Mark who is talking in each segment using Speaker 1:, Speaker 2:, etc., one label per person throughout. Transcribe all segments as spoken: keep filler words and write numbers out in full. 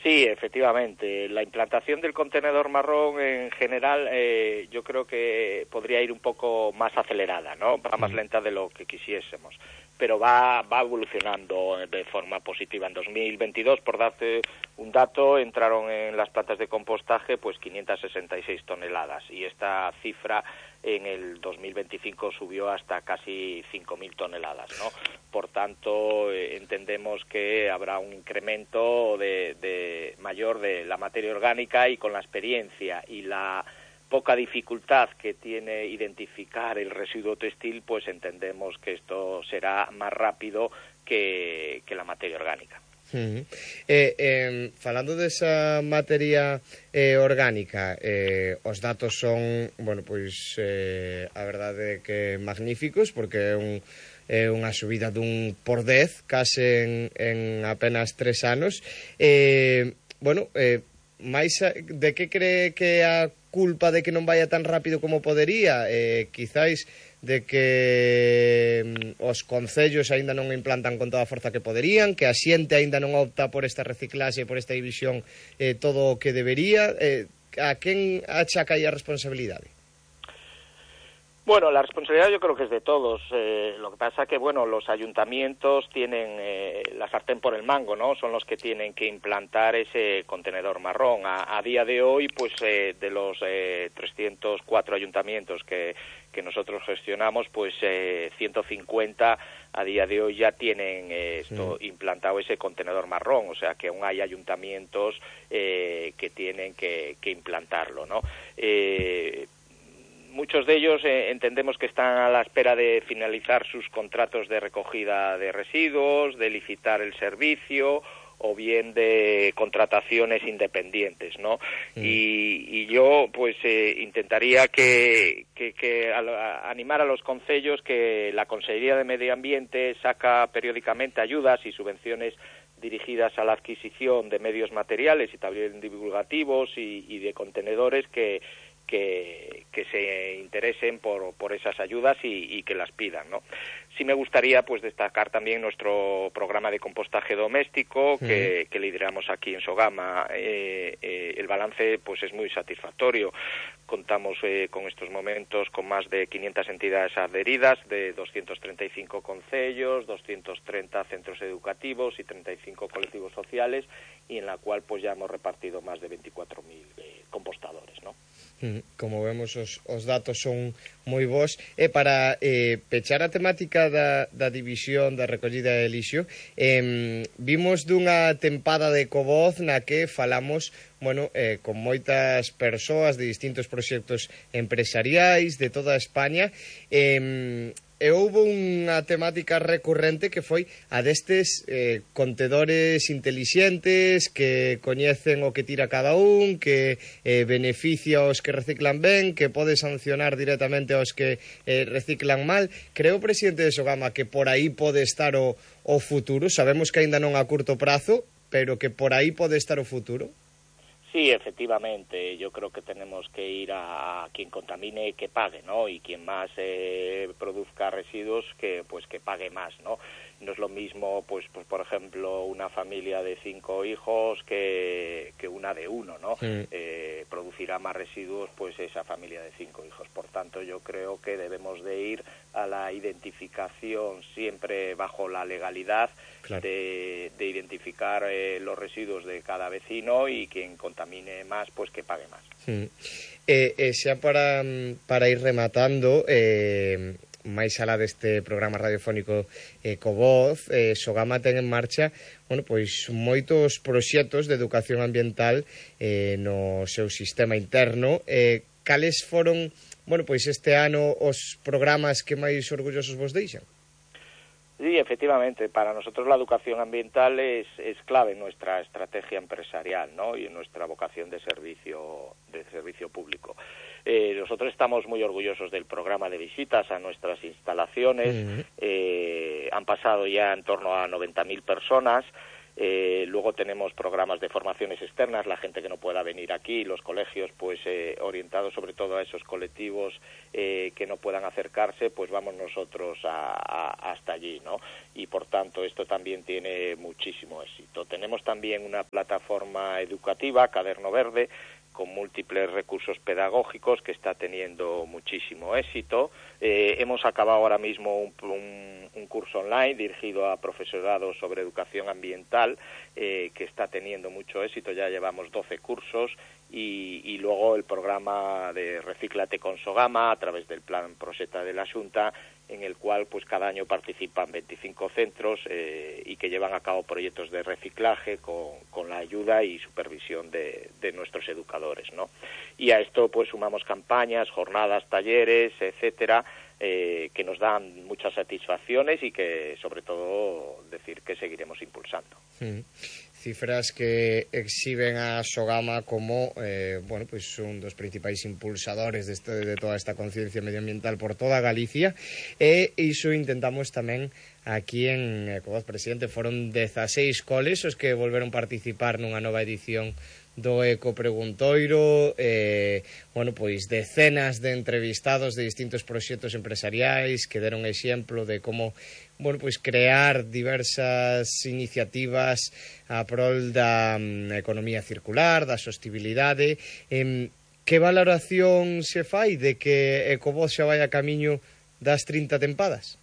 Speaker 1: Sí, efectivamente. La implantación del contenedor marrón en general eh, yo creo que podría ir un poco más acelerada, ¿no? Va más lenta de lo que quisiésemos, pero va va evolucionando de forma positiva. En dos mil veintidós, por darte un dato, entraron en las plantas de compostaje pues quinientas sesenta y seis toneladas y esta cifra en el dos mil veinticinco subió hasta casi cinco mil toneladas, ¿no? Por tanto, eh, entendemos que habrá un incremento de, de mayor de la materia orgánica y con la experiencia y la poca dificultad que tiene identificar el residuo textil, pues entendemos que esto será más rápido que, que la materia orgánica.
Speaker 2: Uh-huh. eh, eh, falando desa materia eh, orgánica, eh, os datos son, bueno, pois eh, a verdade é que magníficos, porque é un é unha subida dun por dez case en, en apenas tres anos. Eh, bueno, eh, máis a, de que cree que é a culpa de que non vaya tan rápido como podería? Eh, quizáis de que mm, os concellos aínda non implantan con toda a forza que poderían, que a xente aínda non opta por esta reciclaxe, por esta división, eh, todo o que debería. Eh, a quen achaca aí a responsabilidade?
Speaker 1: Bueno, la responsabilidad yo creo que es de todos. Eh, lo que pasa que, bueno, los ayuntamientos tienen eh, la sartén por el mango, ¿no? Son los que tienen que implantar ese contenedor marrón. A, a día de hoy, pues, eh, de los eh, trescientos cuatro ayuntamientos que, que nosotros gestionamos, pues, eh, ciento cincuenta a día de hoy ya tienen eh, esto sí. implantado ese contenedor marrón. O sea, que aún hay ayuntamientos eh, que tienen que, que implantarlo, ¿no? Eh, Muchos de ellos eh, entendemos que están a la espera de finalizar sus contratos de recogida de residuos, de licitar el servicio o bien de contrataciones independientes, ¿no? Mm. Y, y yo, pues, eh, intentaría que, que, que a, a animar a los concellos que la Consellería de Medio Ambiente saca periódicamente ayudas y subvenciones dirigidas a la adquisición de medios materiales y también divulgativos y, y de contenedores que Que, que se interesen por, por esas ayudas y, y que las pidan, ¿no? Sí me gustaría pues destacar también nuestro programa de compostaje doméstico que, que lideramos aquí en Sogama. Eh, eh, el balance pues es muy satisfactorio. Contamos eh, con estos momentos con más de quinientas entidades adheridas de doscientos treinta y cinco concellos, doscientos treinta centros educativos y treinta y cinco colectivos sociales, y en la cual pues ya hemos repartido más de veinticuatro mil eh, compostadores, ¿no?
Speaker 2: Como vemos, os, os datos son moi bons. E para eh, pechar a temática da, da división da recollida de lixo, eh, vimos dunha tempada de Ecovoz na que falamos, bueno, eh, con moitas persoas de distintos proxectos empresariais de toda España, eh, e houve unha temática recurrente que foi a destes eh, contedores intelixentes que coñecen o que tira cada un, que eh, beneficia aos que reciclan ben, que pode sancionar directamente aos que eh, reciclan mal. Creo, presidente de Sogama, que por aí pode estar o, o futuro. Sabemos que aínda non a curto prazo, pero que por aí pode estar o futuro.
Speaker 1: Sí, efectivamente, yo creo que tenemos que ir a quien contamine que pague, ¿no? Y quien más eh, produzca residuos que pues que pague más, ¿no? No es lo mismo, pues, pues por ejemplo, una familia de cinco hijos que, que una de uno, ¿no? Sí. Eh, producirá más residuos, pues, esa familia de cinco hijos. Por tanto, yo creo que debemos de ir a la identificación siempre bajo la legalidad, claro, de, de identificar eh, los residuos de cada vecino, y quien contamine más, pues que pague más.
Speaker 2: Sí. Eh, eh, xa para, para ir rematando, eh, máis alá deste programa radiofónico Ecovoz, eh, Sogama ten en marcha, bueno, pois moitos proxectos de educación ambiental eh, no seu sistema interno. Eh, cales foron, bueno, pois este ano os programas que máis orgullosos vos deixan?
Speaker 1: Sí, efectivamente, para nosotros la educación ambiental es, es clave en nuestra estrategia empresarial, ¿no? Y en nuestra vocación de servicio, de servicio público. Eh, nosotros estamos muy orgullosos del programa de visitas a nuestras instalaciones. Uh-huh. Eh, han pasado ya en torno a noventa mil personas. Eh, luego tenemos programas de formaciones externas, la gente que no pueda venir aquí, los colegios pues eh, orientados sobre todo a esos colectivos eh, que no puedan acercarse, pues vamos nosotros a, a, hasta allí, ¿no? Y por tanto esto también tiene muchísimo éxito. Tenemos también una plataforma educativa, Caderno Verde, con múltiples recursos pedagógicos que está teniendo muchísimo éxito. Eh, hemos acabado ahora mismo un, un, un curso online dirigido a profesorado sobre educación ambiental eh, que está teniendo mucho éxito, ya llevamos doce cursos y, y luego el programa de Recíclate con Sogama a través del plan Proseta de la Xunta, en el cual pues cada año participan veinticinco centros eh, y que llevan a cabo proyectos de reciclaje con, con la ayuda y supervisión de, de nuestros educadores, ¿no? Y a esto pues sumamos campañas, jornadas, talleres, etcétera, eh, que nos dan muchas satisfacciones y que sobre todo decir que seguiremos impulsando.
Speaker 2: Mm. Cifras que exhiben a Sogama como eh, bueno, pues un dos principais impulsadores de, este, de toda esta conciencia medioambiental por toda Galicia, e iso intentamos tamén aquí en Ecovoz, presidente. Foron dezaseis coles os que volveron participar nunha nova edición do Eco Preguntoiro, eh, bueno, pois decenas de entrevistados de distintos proxectos empresariais que deron exemplo de como, bueno, pois crear diversas iniciativas a prol da um, economía circular, da sostibilidade. Eh, que valoración se fai de que Ecovoz xa vai a camiño das trinta tempadas?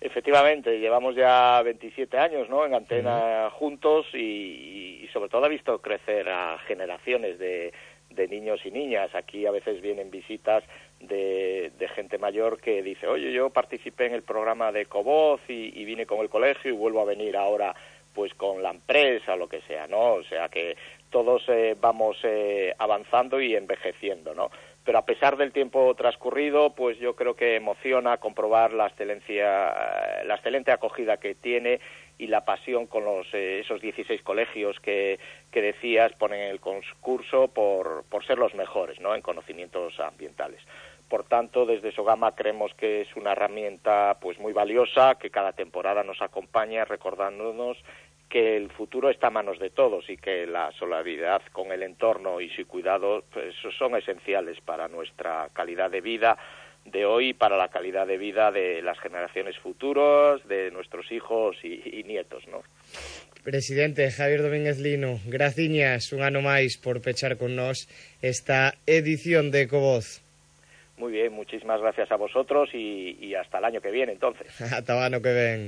Speaker 1: Efectivamente, llevamos ya veintisiete años, ¿no?, en Antena uh-huh. juntos y, y sobre todo ha visto crecer a generaciones de, de niños y niñas. Aquí a veces vienen visitas de, de gente mayor que dice, oye, yo participé en el programa de Ecovoz y, y vine con el colegio y vuelvo a venir ahora pues con la empresa o lo que sea, ¿no? O sea que todos eh, vamos eh, avanzando y envejeciendo, ¿no? Pero a pesar del tiempo transcurrido, pues yo creo que emociona comprobar la excelencia, la excelente acogida que tiene y la pasión con los eh, esos dieciséis colegios que, que decías ponen en el concurso por, por ser los mejores, ¿no?, en conocimientos ambientales. Por tanto, desde Sogama creemos que es una herramienta pues muy valiosa, que cada temporada nos acompaña recordándonos que el futuro está a manos de todos y que la solidaridad con el entorno y su cuidado pues, son esenciales para nuestra calidad de vida de hoy y para la calidad de vida de las generaciones futuras, de nuestros hijos y, y nietos, ¿no?
Speaker 2: Presidente Javier Domínguez Lino, graciñas un ano máis por pechar con nós esta edición de Ecovoz.
Speaker 1: Muy bien, muchísimas gracias a vosotros y, y hasta el año que viene, entonces.
Speaker 2: Hasta o ano que ven.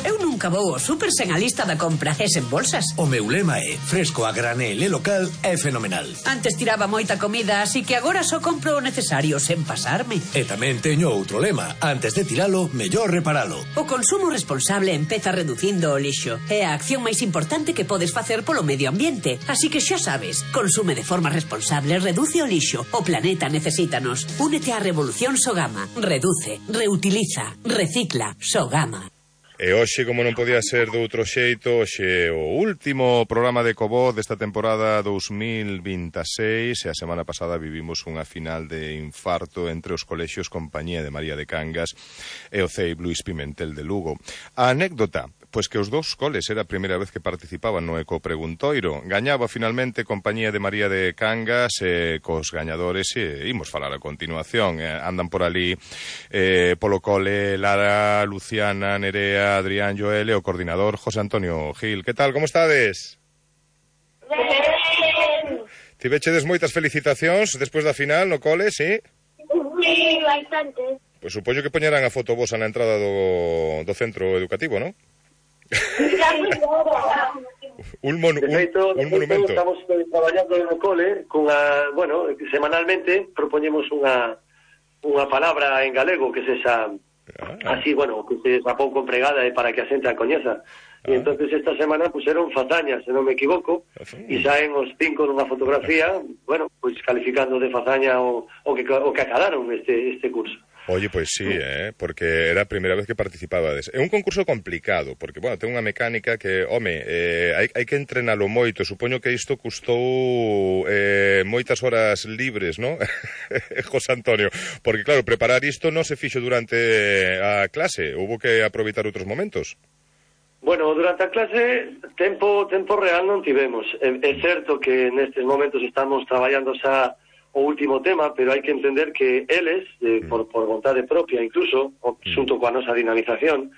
Speaker 3: Eu nunca vou ao súper sen a lista da compra e sen bolsas.
Speaker 4: O meu lema é fresco a granel e local é fenomenal.
Speaker 3: Antes tiraba moita comida, así que agora só compro o necesario sen pasarme.
Speaker 4: E tamén teño outro lema, antes de tiralo, mellor reparalo.
Speaker 3: O consumo responsable empeza reducindo o lixo. É a acción máis importante que podes facer polo medio ambiente. Así que xa sabes, consume de forma responsable, reduce o lixo. O planeta necesítanos. Únete á revolución Sogama. Reduce, reutiliza, recicla. Sogama.
Speaker 5: E hoxe, como non podía ser de outro xeito, hoxe o último programa de Ecovoz desta temporada dous mil vinte e seis, e a semana pasada vivimos unha final de infarto entre os colexios Compañía de María de Cangas e o C E I Luís Pimentel de Lugo. A anécdota, pois que os dous coles era a primeira vez que participaban no Eco Preguntoiro. Gañaba finalmente Compañía de María de Cangas e cos gañadores e imos falar a continuación. Eh, andan por ali eh, polo cole Lara, Luciana, Nerea, Adrián, Joel e o coordinador José Antonio Gil. Que tal, como estades? Ben. Tivechedes moitas felicitacións despois da final no cole, sí?
Speaker 6: Sí, bastante.
Speaker 5: Pois supoño que poñerán a foto vosa na entrada do, do centro educativo, non? un, mon, un,
Speaker 7: feito,
Speaker 5: un monumento.
Speaker 7: Estamos traballando no cole con a, bueno, semanalmente propoñemos unha unha palabra en galego que se xa ah. así, bueno, que se xa pouco empregada e para que a xente a coñeza. Ah. E entonces esta semana puseron fazañas, se non me equivoco, e saen os cinco nunha fotografía, bueno, pois calificando de fazaña o, o que o que acadaron este este curso.
Speaker 5: Oye, pois sí, eh, porque era a primeira vez que participabades. É un concurso complicado, porque, bueno, ten unha mecánica que, home, eh, hai, hai que entrenalo moito. Supoño que isto custou eh, moitas horas libres, ¿no? José Antonio, porque, claro, preparar isto non se fixo durante a clase, houbo que aproveitar outros momentos.
Speaker 7: Bueno, durante a clase tempo tempo real non tivemos. É, é certo que nestes momentos estamos traballando xa o último tema, pero hai que entender que eles, eh, por, por vontade propia incluso, xunto coa nosa dinamización,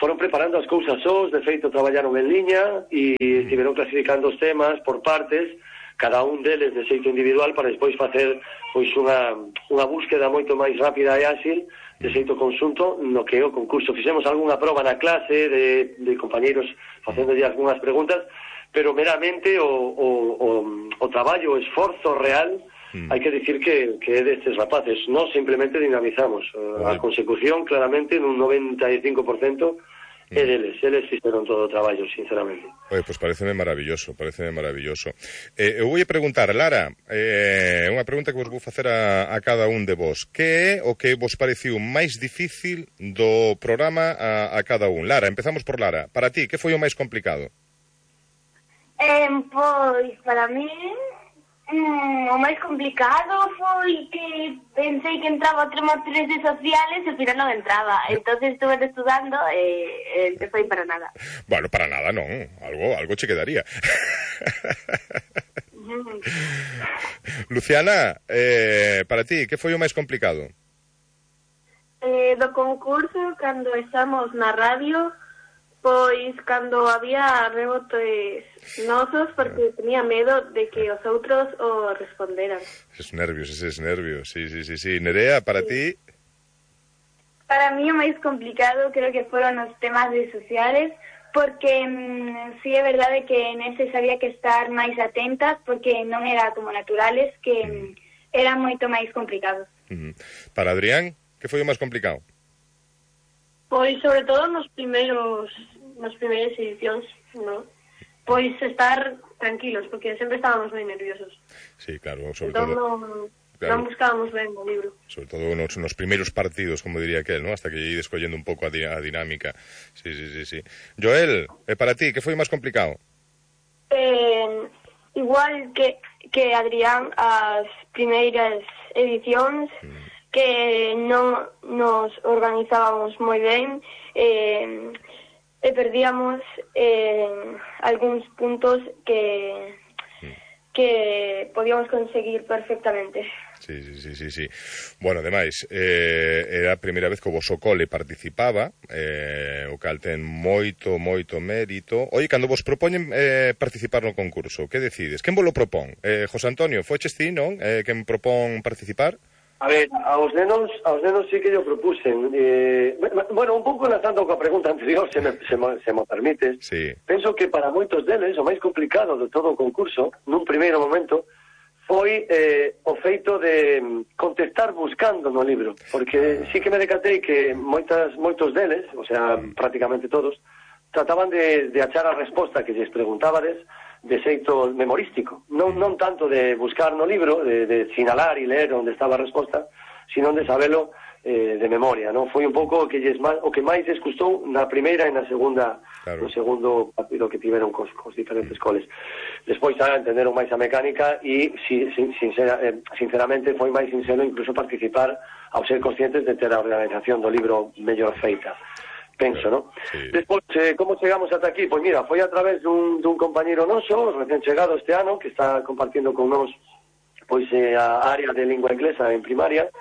Speaker 7: foron preparando as cousas sós, de feito traballaron en liña e estiveron clasificando os temas por partes, cada un deles de xeito individual para despois facer pois unha, unha búsqueda moito máis rápida e áxil de xeito conxunto no que o concurso. Fixemos algunha proba na clase de, de compañeiros facéndolle algunhas preguntas, pero meramente o, o, o, o traballo, o esforzo real, mm. hai que dicir que, que é destes rapaces. Nós simplemente dinamizamos. A consecución, claramente, nun noventa e cinco por cento é deles, eles fixeron todo o traballo, sinceramente.
Speaker 5: Oye, pues pareceme maravilloso, pareceme maravilloso. Eh, eu vou preguntar, Lara, é eh, unha pregunta que vos vou facer a, a cada un de vos. Que é o que vos pareciu máis difícil do programa a, a cada un? Lara, empezamos por Lara. Para ti, que foi o máis complicado?
Speaker 6: Eh, pois, para mí, mm, o máis complicado foi que pensei que entraba a trimestres de sociales e ao final non entraba. Entonces estuve estudando e eh, foi para nada.
Speaker 5: Bueno, para nada non, algo, algo che quedaría. Luciana, eh, para ti, que foi o máis complicado?
Speaker 8: Eh, do concurso, cando estamos na radio, pois cando había rebotes nosos, porque tenía medo de que os outros o responderan.
Speaker 5: Eses nervios, eses nervios, sí, sí, sí, sí. Nerea, para sí. ti?
Speaker 8: Para mí o máis complicado creo que foron os temas de sociales, porque mmm, sí é verdade que neses había que estar máis atentas, porque non era como naturales, que mm. eran moito máis complicados.
Speaker 5: Mm. Para Adrián, que foi o máis complicado?
Speaker 9: Pois, sobre todo nos primeiros nas primeiras edicións, ¿no? Pois estar tranquilos, porque sempre estábamos moi nerviosos.
Speaker 5: Sí, claro, sobre
Speaker 9: entón,
Speaker 5: todo...
Speaker 9: non,
Speaker 5: claro,
Speaker 9: non buscábamos ben o libro.
Speaker 5: Sobre todo nos, nos primeiros partidos, como diría aquel, ¿no? Hasta que lle ides collendo un pouco a, di a dinámica. Sí, sí, sí, sí. Joel, eh, para ti, que foi máis complicado?
Speaker 8: Eh, igual que, que Adrián, as primeiras edicións, mm. que non nos organizábamos moi ben, eh, e perdíamos eh, algúns puntos que que podíamos conseguir perfectamente.
Speaker 5: Sí, sí, sí, sí, sí. Bueno, ademais, eh, era a primeira vez que o voso cole participaba, eh, o cal ten moito, moito mérito. Oye, cando vos propoñen eh, participar no concurso, que decides? Quen vos lo propón? Eh, José Antonio, foches ti, non? Eh, quen propón participar?
Speaker 7: A ver, aos nenos, aos nenos sí que yo propusen. Eh, bueno, un pouco enlazando coa pregunta anterior, se me, se me, se me permites.
Speaker 5: Sí.
Speaker 7: Penso que para moitos deles o máis complicado de todo o concurso, nun primeiro momento, foi eh, o feito de contestar buscando no libro. Porque sí que me decatei que moitas, moitos deles, o sea, prácticamente todos, trataban de, de achar a resposta que lles preguntábades de xeito memorístico, non, non tanto de buscar no libro, de, de sinalar e ler onde estaba a resposta, sino de sabelo eh, de memoria, non? Foi un pouco o que, lles, o que máis les custou na primeira e na segunda, claro, no segundo partido que tiveron cos, cos diferentes coles. Despois xa entenderon máis a mecánica e si, sin, sincera, eh, sinceramente foi máis sincero incluso participar ao ser conscientes de ter a organización do libro mellor feita. Penso, ¿no? Sí. Despois, eh, como chegamos ata aquí? Pois mira, foi a través dun, dun compañeiro noso, recén chegado este ano, que está compartindo con nós pois eh, a área de lingua inglesa en primaria,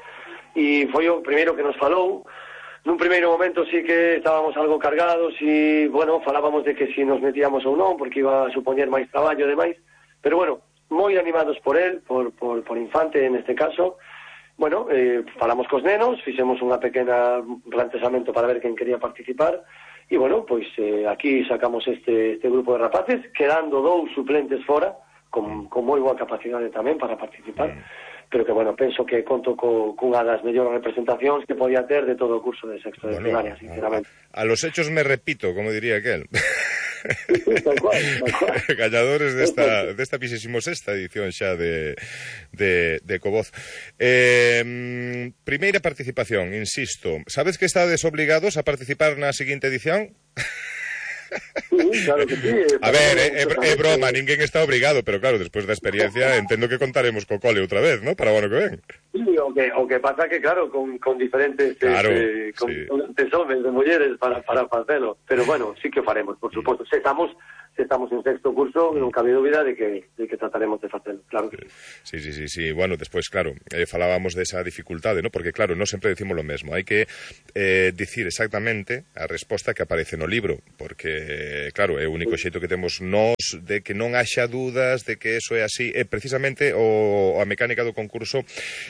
Speaker 7: e foi o primeiro que nos falou. Nun primeiro momento sí que estábamos algo cargados e, bueno, falábamos de que si nos metíamos ou non, porque iba a supoñer máis traballo e demais, pero bueno, moi animados por él, por, por, por Infante neste caso. Bueno, eh, falamos cos nenos, fixemos unha pequena planteamento para ver quen quería participar e, bueno, pois eh, aquí sacamos este, este grupo de rapaces, quedando dous suplentes fora, con, con moi boa capacidade tamén para participar, pero que, bueno, penso que conto co, cunha das mellores representacións que podía ter de todo o curso de sexto de bueno, primaria, sinceramente.
Speaker 5: A, a los hechos me repito, como diría aquel.
Speaker 7: Tal cual, tal cual.
Speaker 5: Gañadores desta, desta vixésimo sexta edición xa de, de, de Covoz. Eh, primeira participación, insisto. Sabes que estades obligados a participar na seguinte edición?
Speaker 7: Sí, claro que sí.
Speaker 5: A ver, é, é, é broma, ninguén está obrigado, pero claro, despois da experiencia entendo que contaremos co cole outra vez, ¿no? Para o ano que ven.
Speaker 7: Sí, o que, o que pasa que, claro, con, con diferentes
Speaker 5: claro,
Speaker 7: eh, con,
Speaker 5: sí.
Speaker 7: con de hombres, de mulleres para, para facelo. Pero bueno, sí que o faremos, por suposto. Se estamos, se estamos en sexto curso, non cabe dúbida de que, de que trataremos de facelo, claro que
Speaker 5: sí. Sí, sí, sí, sí. Bueno, despois, claro, eh, falábamos desa dificultade, ¿no? Porque, claro, non sempre decimos lo mesmo. Hai que eh, dicir exactamente a resposta que aparece no libro, porque, claro, é o único xeito que temos nós de que non haxa dúdas de que eso é así. É precisamente o, a mecánica do concurso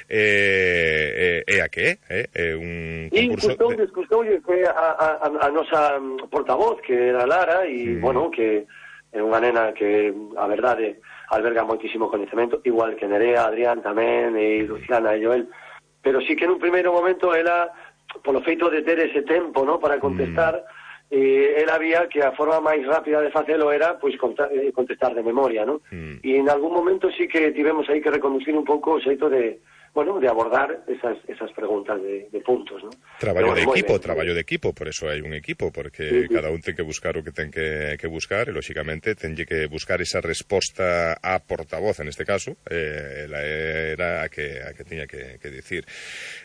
Speaker 5: eh, é, é a que é, é un concurso...
Speaker 7: E custoulle, de... custoulle que a, a, a nosa portavoz, que era Lara, e, mm. bueno, que é unha nena que, a verdade, alberga moitísimo coñecemento, igual que Nerea, Adrián tamén, e Luciana e Joel, pero sí que nun primeiro momento ela, polo feito de ter ese tempo, ¿no?, para contestar, mm. eh, ela vía que a forma máis rápida de facelo era, pois, contestar de memoria, ¿no? Mm. E en algún momento sí que tivemos aí que reconducir un pouco o xeito de, bueno, de abordar esas, esas preguntas de, de puntos, ¿no?
Speaker 5: Traballo
Speaker 7: bueno,
Speaker 5: de equipo,
Speaker 7: bien,
Speaker 5: traballo de equipo, por eso hai un equipo, porque sí, sí. cada un ten que buscar o que ten que, que buscar, e, lóxicamente, tenlle que buscar esa resposta a portavoz, en este caso, eh, ela era a que, a que tiña que, que dicir.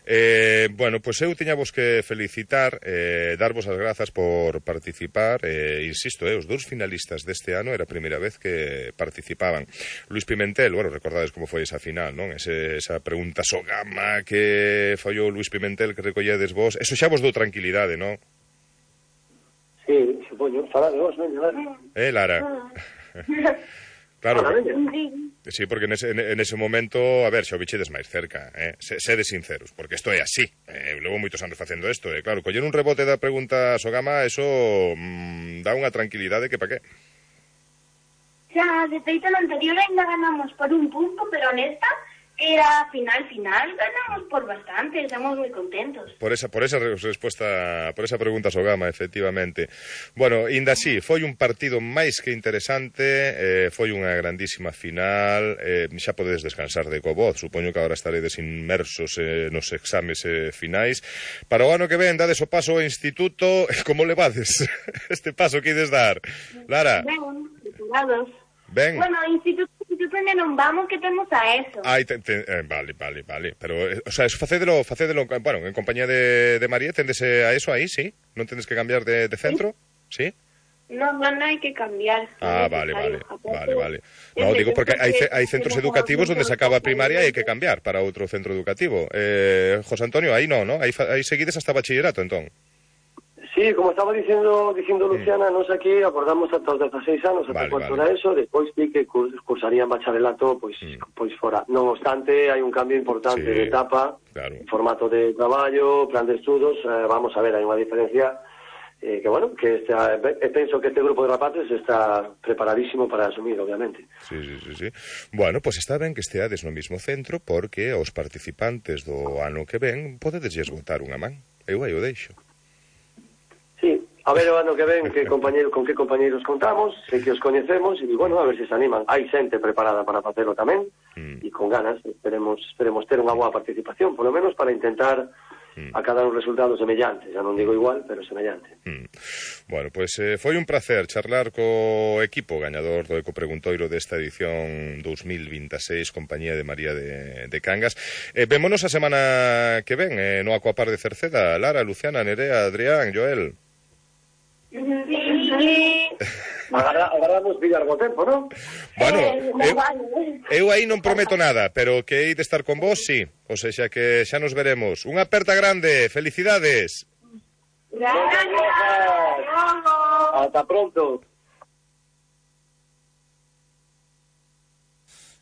Speaker 5: Eh, bueno, pois pues eu tiñavos que felicitar, eh, darvos as grazas por participar, eh, insisto, eh, os dous finalistas deste ano era a primeira vez que participaban. Luis Pimentel, bueno, recordades como foi esa final, non? Ese, esa pregunta Sogama que fallou Luis Pimentel que recolledes vos, eso xa vos dou tranquilidade, non?
Speaker 7: Sí, supoño, fala de vos, non?
Speaker 5: Eh, Lara? Claro, sí, porque nese, nese momento, a ver, xa o bichedes máis cerca, eh? Sede sinceros, porque isto é así, eh? Levo moitos anos facendo isto, eh? Claro, coller un rebote da pregunta Sogama, eso mmm, dá unha tranquilidade que pa qué?
Speaker 6: Xa, de feito, no anterior ainda ganamos por un punto, pero nesta era final, final, ganamos por bastante, estamos moi contentos.
Speaker 5: Por esa, por esa resposta, por esa pregunta Sogama, efectivamente. Bueno, inda así, foi un partido máis que interesante, eh, foi unha grandísima final, eh, xa podedes descansar de covoz, supoño que agora estaredes inmersos eh, nos exames eh, finais. Para o ano que ven, dades o paso ao instituto, como levades este paso que ides dar? Lara?
Speaker 6: Ben, preparados.
Speaker 5: Ben.
Speaker 6: Bueno, instituto, instituto non vamos, que temos a eso.
Speaker 5: Ai, te, te, eh, vale, vale, vale. Pero, eh, o sea, eso facédelo, facédelo, bueno, en compañía de, de María, tendese a eso aí, sí? Non tendes que cambiar de, de centro? Sí?
Speaker 6: No, no, non hai que cambiar.
Speaker 5: Ah, vale, vale, vale, vale. No, digo porque hai, hai centros educativos onde se acaba a primaria e hai que cambiar para outro centro educativo. Eh, José Antonio, aí non, ¿no? Aí, aí seguides hasta bachillerato, entón.
Speaker 7: Sí, como estaba dicindo dicindo Luciana, mm. nos aquí acordamos ata os dezaseis anos, ata vale, cuarto vale. da eso, depois di que cursarían bacharelato, pois mm. pois fora. Non obstante, hai un cambio importante sí, de etapa, claro. Formato de traballo, plan de estudos, eh, vamos a ver, hai unha diferencia eh, que, bueno, que esta, eh, penso que este grupo de rapaces está preparadísimo para asumir, obviamente.
Speaker 5: Sí, sí, sí, sí. Bueno, pois pues está ben que esteades no mismo centro, porque os participantes do ano que ven podedesles botar unha man. Eu aí o deixo.
Speaker 7: Sí, a ver o ano que ven que compañeiro, con que compañeiros contamos, sei que os coñecemos e, bueno, a ver se se animan. Hai xente preparada para facelo tamén mm. e con ganas, esperemos, esperemos ter unha boa participación, polo menos para intentar mm. acadar un resultado semellante, xa non digo igual, pero semellante.
Speaker 5: Mm. Bueno, pois pues, eh, foi un placer charlar co equipo gañador do Ecopreguntoiro desta edición dos mil veintiséis, compañía de María de, de Cangas. Eh, vémonos a semana que ven eh, no Aquapar de Cerceda. Lara, Luciana, Nerea, Adrián, Joel.
Speaker 6: Sí.
Speaker 7: Agardamos pillar bo tempo, non?
Speaker 5: Bueno, eu, eu aí non prometo nada, pero que hei de estar con vos, sí. O sea que xa nos veremos. Unha aperta grande, felicidades.
Speaker 6: Gracias.
Speaker 7: Hasta pronto.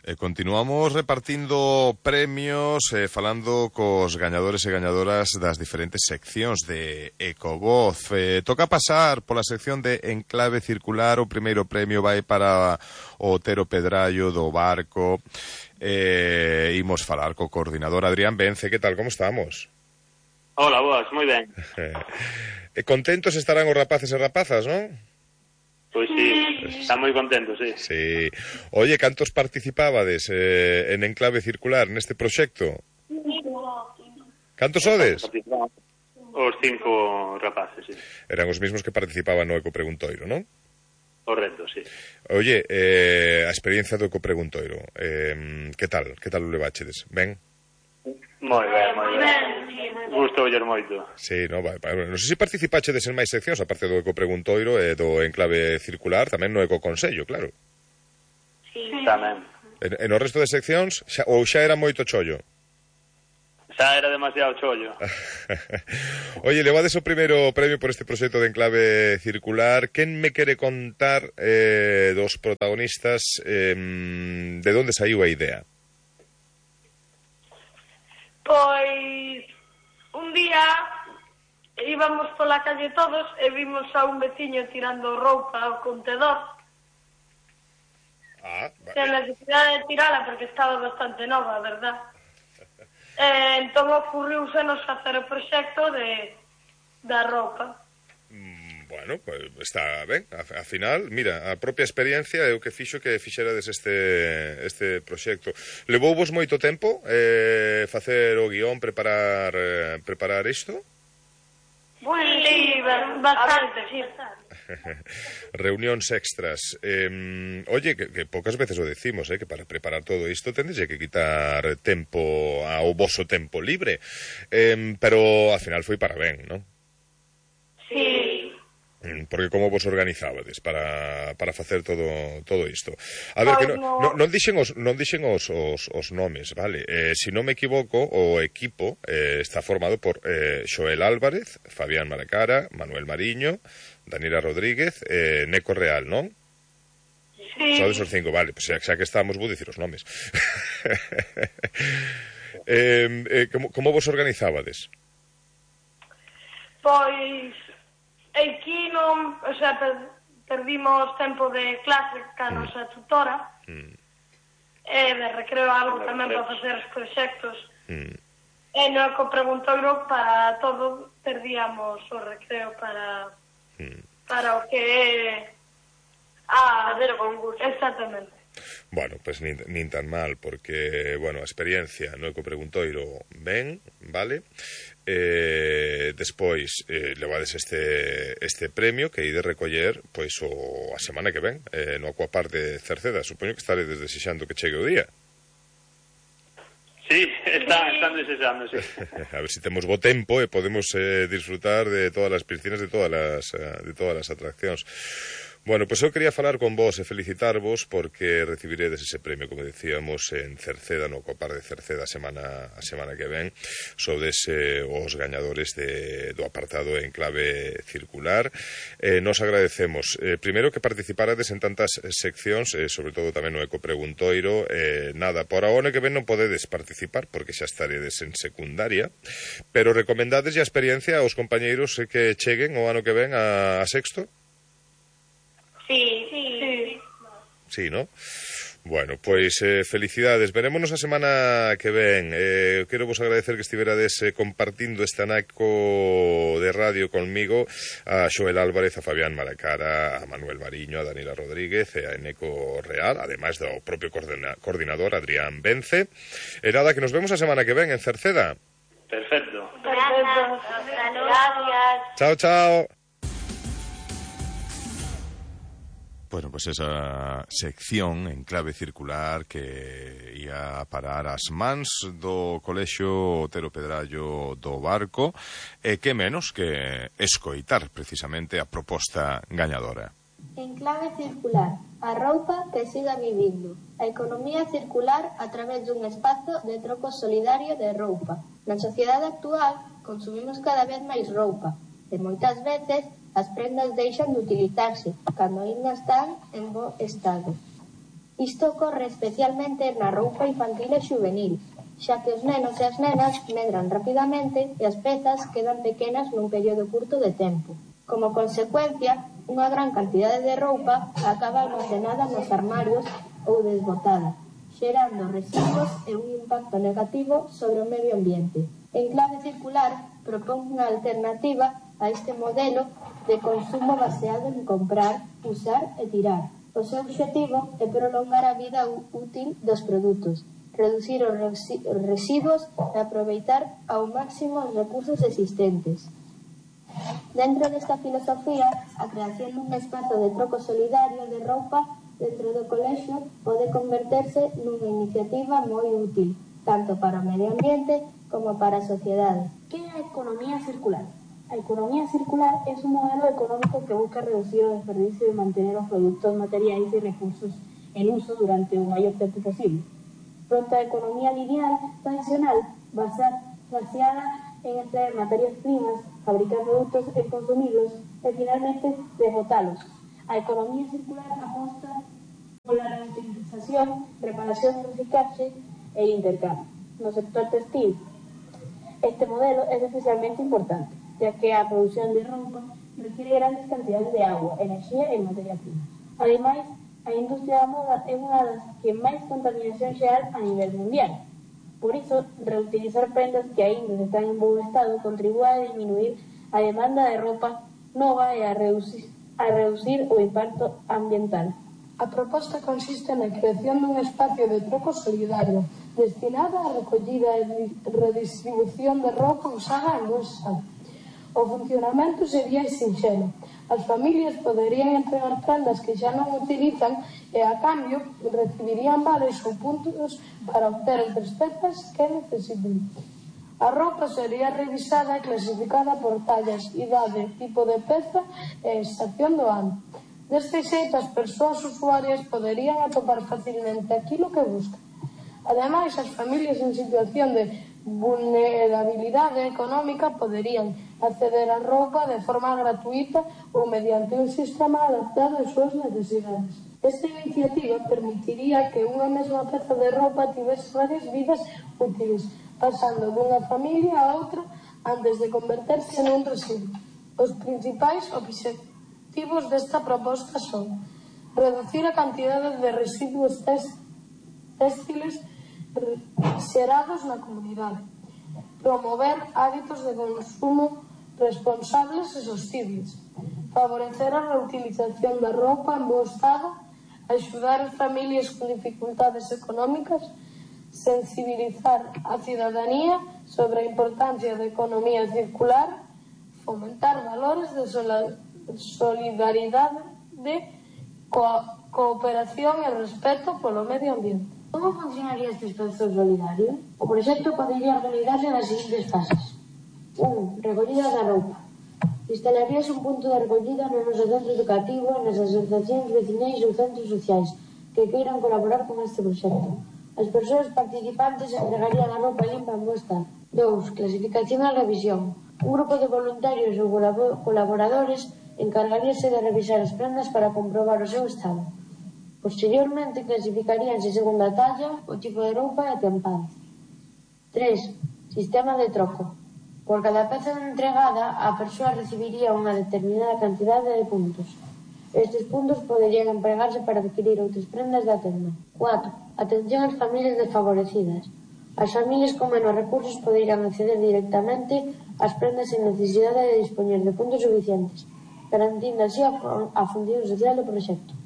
Speaker 5: E continuamos repartindo premios, eh, falando cos gañadores e gañadoras das diferentes seccións de Ecovoz. Eh, toca pasar pola sección de Enclave Circular. O primeiro premio vai para o Otero Pedrallo do Barco. Eh, imos falar co coordinador Adrián Vence. Que tal, como estamos?
Speaker 10: Hola, boas, moi ben.
Speaker 5: eh, contentos estarán os rapaces e rapazas, non?
Speaker 10: Pois sí, están moi contentos, sí.
Speaker 5: Sí. Oye, cantos participábades eh, en Enclave Circular neste proxecto? Cantos sodes?
Speaker 10: os cinco rapaces, sí.
Speaker 5: Eran os mismos que participaban no Ecopreguntoiro, non?
Speaker 10: Correcto, sí.
Speaker 5: Oye, eh, a experiencia do Ecopreguntoiro, eh, que tal? Que tal o leváchedes? Ben?
Speaker 10: Moi ben, moi ben. Gustou oller moito.
Speaker 5: Sí, no, vai, vai. Non sei se participachedes en máis seccións, aparte do Ecopreguntoiro e do Enclave Circular, tamén no Ecoconsello, claro.
Speaker 10: Sí. Tamén.
Speaker 5: En, en o resto de seccións, xa, ou xa era moito chollo?
Speaker 10: Xa era demasiado chollo.
Speaker 5: Oye, levades o primeiro premio por este proxecto de Enclave Circular. Quen me quere contar eh, dos protagonistas eh, de onde saiu a idea?
Speaker 9: Pois un día íbamos pola calle todos e vimos a un veciño tirando roupa ao contedor.
Speaker 5: Ah, vale.
Speaker 9: Sen necesidade de tirala porque estaba bastante nova, verdad? E entón ocurriusenos facer o proxecto de da roupa.
Speaker 5: Mm, bueno, pues está ben. A, a final, mira, a propia experiencia é o que fixo que fixerades este este proxecto. Levouvos moito tempo eh, facer o guión, preparar eh, preparar isto?
Speaker 9: Bueno, sí, bastante, sí.
Speaker 5: Reunións extras. Eh, oye, que, que pocas veces o decimos, eh, que para preparar todo isto tendes que quitar tempo ao voso tempo libre. Eh, pero ao final foi para ben, non?
Speaker 9: Sí.
Speaker 5: Porque como vos organizábades para, para facer todo todo isto? A ver, que non, non, non dixen os non dixen os, os, os nomes, vale? Eh, se non me equivoco, o equipo eh, está formado por eh, Xoel Álvarez, Fabián Malacara, Manuel Mariño, Daniela Rodríguez, eh, Neco Real, non?
Speaker 9: Sí.
Speaker 5: Sodes os cinco, vale, pues xa, xa que estamos, vou dicir os nomes. eh, eh, como, como vos organizábades?
Speaker 9: Pois aquí non, o sea, per, perdimos tempo de clase ca mm. nosa tutora mm. e de recreo algo tamén para facer os proxectos mm. e no Ecopreguntoiro para todo perdíamos o recreo para mm. para o que é a fazer o concurso. Exactamente.
Speaker 5: Bueno, pues nin, nin tan mal, porque, bueno, a experiencia no Ecopreguntoiro ben, vale? Eh, despois eh, levades este este premio que ide recoller pois o a semana que ven eh, no Aquapar de Cerceda. Supoño que estaredes desexando que chegue o día.
Speaker 10: Sí, están, están desexando, sí.
Speaker 5: A ver se si temos bo tempo e podemos eh, disfrutar de todas as piscinas, de todas as de todas as atraccións. Bueno, pois eu quería falar con vos e felicitarvos porque recibiredes ese premio, como decíamos, en Cerceda, no Copar de Cerceda a semana, a semana que ven. Sodes eh, os gañadores de, do apartado Enclave Circular. Eh, nos agradecemos, eh, primeiro, que participarades en tantas seccións, eh, sobre todo tamén no Ecopreguntoiro. Eh, nada, por a ano que ven non podedes participar porque xa estaredes en secundaria, pero recomendades a experiencia aos compañeiros eh, que cheguen o ano que ven a, a sexto.
Speaker 9: Sí, sí, sí.
Speaker 5: Sí, ¿no? Bueno, pois eh, felicidades. Verémonos a semana que ven. Eh, quero vos agradecer que estiverades eh, compartindo este anaco de radio conmigo, a Xoel Álvarez, a Fabián Malacara, a Manuel Mariño, a Daniela Rodríguez e a Neco Real, ademais do propio coordina coordinador Adrián Vence. E nada, que nos vemos a semana que ven en Cerceda.
Speaker 10: Perfecto.
Speaker 9: Perfecto. Gracias.
Speaker 5: Chao, chao. Bueno, pues esa sección Enclave Circular que ia a parar as mans do Colexio Otero Pedrallo do Barco e que menos que escoitar precisamente a proposta gañadora.
Speaker 11: Enclave Circular, a roupa que siga vivindo. A economía circular a través dun espazo de troco solidario de roupa. Na sociedade actual consumimos cada vez máis roupa e moitas veces as prendas deixan de utilizarse cando ainda están en bo estado. Isto ocorre especialmente na roupa infantil e juvenil, xa que os nenos e as nenas medran rapidamente e as pezas quedan pequenas nun período curto de tempo. Como consecuencia, unha gran cantidade de roupa acaba almacenada nos armarios ou desbotada, xerando residuos e un impacto negativo sobre o medio ambiente. Enclave Circular propón unha alternativa a este modelo de consumo baseado en comprar, usar e tirar. O seu obxectivo é prolongar a vida útil dos produtos, reducir os residuos e aproveitar ao máximo os recursos existentes. Dentro desta filosofía, a creación dun espazo de troco solidario de roupa dentro do colexio pode converterse nunha iniciativa moi útil, tanto para o medio ambiente como para a sociedade.
Speaker 12: Que é a economía circular? A economía circular é un modelo económico que busca reducir o desperdicio e mantener os produtos materiais e recursos en uso durante o maior tempo posible. Pronto a economía lineal tradicional, basada, baseada en extraer materias primas, fabricar produtos e consumirlos e finalmente desbotalos. A economía circular aposta pola reutilización, reparación, reciclaje e intercambio. No sector textil, este modelo é especialmente importante, ya que a produción de roupa requiere grandes cantidades de agua, enerxía e materia prima. Ademais, a industria da moda é unha das que máis contaminación xeral a nivel mundial. Por iso, reutilizar prendas que aínda están en bo estado contribúe a disminuir a demanda de roupa nova e a reducir, a reducir o impacto ambiental.
Speaker 9: A proposta consiste na creación dun espacio de troco solidario destinado á recollida e redistribución de roupa usada en bo estado. O funcionamento sería sinxelo. As familias poderían entregar prendas que xa non utilizan e, a cambio, recibirían vales ou puntos para obter outras pezas que necesiten. A roupa sería revisada e clasificada por tallas, idade, tipo de peza e estación do ano. Deste xeito, as persoas usuarias poderían atopar facilmente aquilo que buscan. Ademais, as familias en situación de vulnerabilidade económica poderían acceder á roupa de forma gratuita ou mediante un sistema adaptado ás súas necesidades. Esta iniciativa permitiría que unha mesma peza de roupa tivese varias vidas útiles, pasando dunha familia a outra antes de converterse nun residuo. Os principais obxectivos desta proposta son reducir a cantidade de residuos textiles xerados na comunidade, promover hábitos de consumo responsables e sostibles, favorecer a reutilización da roupa en bo estado, axudar as familias con dificultades económicas, sensibilizar a cidadanía sobre a importancia da economía circular, fomentar valores de solidaridade, de co cooperación e respeto polo medio ambiente.
Speaker 12: Como funcionaría este espazo solidario? O proxecto podería organizarse nas seguintes fases. un. Recollida da roupa. Instalaríase un punto de recollida no noso centro educativo, nas asociacións veciñais ou centros sociais que queiran colaborar con este proxecto. As persoas participantes entregarían a roupa limpa en bo estado. dous. Clasificación e revisión. Un grupo de voluntarios ou colaboradores encargaríase de revisar as prendas para comprobar o seu estado. Posteriormente, clasificaríanse segundo a talla, o tipo de roupa e a tempadas. tres. Sistema de troco. Por cada peza entregada, a persoa recibiría unha determinada cantidade de puntos. Estes puntos poderían empregarse para adquirir outras prendas da tenda. cuatro. Atención ás familias desfavorecidas. As familias con menos recursos poderían acceder directamente ás prendas sen necesidade de dispoñer de puntos suficientes, garantindo así a, a función social do proxecto.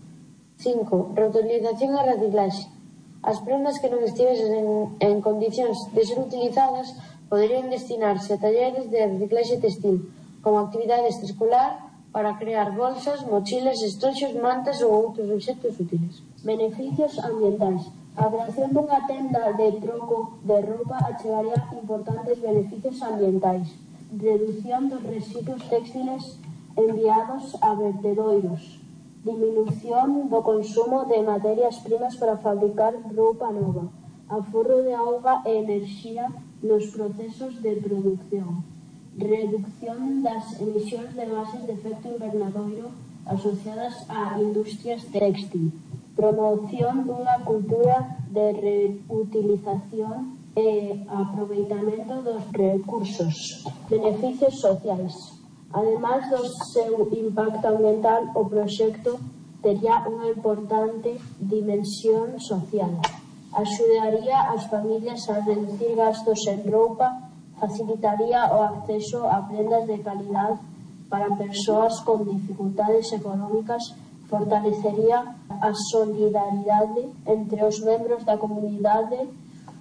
Speaker 12: cinco. Reutilización e reciclaxe. As prendas que non estivesen en, en condicións de ser utilizadas poderían destinarse a talleres de reciclaxe textil, como actividade extraescolar para crear bolsas, mochilas, estoxos, mantas ou outros obxectos útiles. Beneficios ambientais. A creación dunha tenda de troco de roupa achegaría importantes beneficios ambientais. Reducción dos residuos textiles enviados a vertedoiros. Diminución do consumo de materias primas para fabricar roupa nova. Aforro de auga e enerxía nos procesos de produción. Reducción das emisións de gases de efecto invernadoiro asociadas a industrias textil. Promoción dunha cultura de reutilización e aproveitamento dos recursos. Beneficios sociais. Ademais do seu impacto ambiental, o proxecto tería unha importante dimensión social. Axudaría as familias a reducir gastos en roupa, facilitaría o acceso a prendas de calidad para persoas con dificultades económicas, fortalecería a solidaridade entre os membros da comunidade,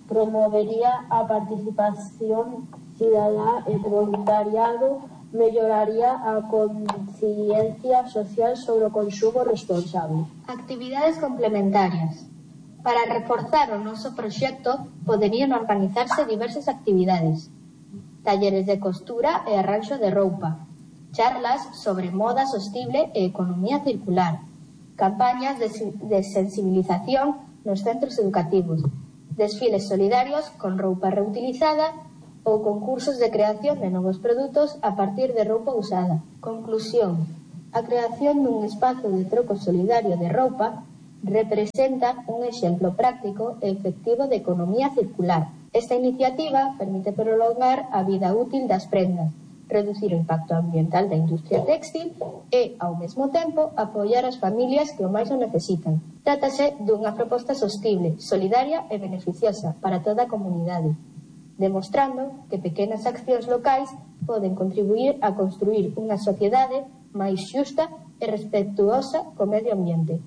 Speaker 12: promovería a participación cidadá e voluntariado, melloraría a conciencia social sobre o consumo responsable.
Speaker 11: Actividades complementarias. Para reforzar o noso proxecto, poderían organizarse diversas actividades. Talleres de costura e arranxo de roupa, charlas sobre moda sostible e economía circular, campañas de, de sensibilización nos centros educativos, desfiles solidarios con roupa reutilizada ou concursos de creación de novos produtos a partir de roupa usada. Conclusión. A creación dun espazo de troco solidario de roupa representa un exemplo práctico e efectivo de economía circular. Esta iniciativa permite prolongar a vida útil das prendas, reducir o impacto ambiental da industria téxtil e, ao mesmo tempo, apoiar as familias que o máis o necesitan. Trátase dunha proposta sostible, solidaria e beneficiosa para toda a comunidade, demostrando que pequenas accións locais poden contribuir a construir unha sociedade máis xusta e respetuosa co medio ambiente.